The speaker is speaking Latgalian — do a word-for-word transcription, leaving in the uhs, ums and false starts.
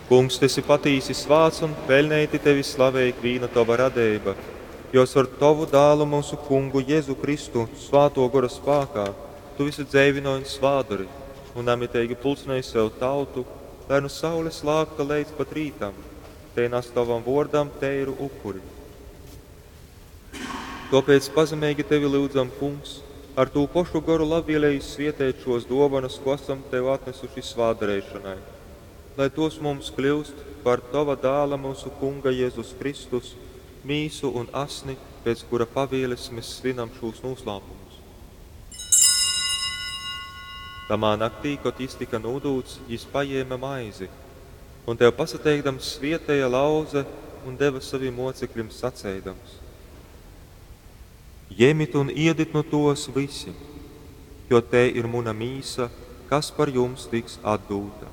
Kungs, tu esi patīsi svāts un peļneiti tevi slavej ikvīna tova radeiba, jo caur tovu Dālu, myusu Kungu Jezu Kristu, Svātō Gora spākā, tu visu dzeivynoj un svātdori, un namiteigi pulcynej sev tautu, lai nu saules lākta leidz pat rītam, tei nas tovam vōrdam teiru upuri. Tōpēc pazemeigi tevi lyudzam, Kungs, ar tū pošu goru labvieleigi svieteit šōs dōvonas, ko asam tev atnesuši svātdareišonai, lai tos mums kļyust par tova Dāla, myusu Kunga Jezus Kristus, mīsu un asni, pēc kura pavieles mēs svinam šūs nūslāpumus. Tamā naktī, kod jis tika nūdūts, jis pajēme maizi, un tev pasateikdams svieteja, lauze un deva savim mocekļim saceidams: Jemit un iedit nu tōs vysi, jo tei ir muna mīsa, kas par jums tiks atdūta.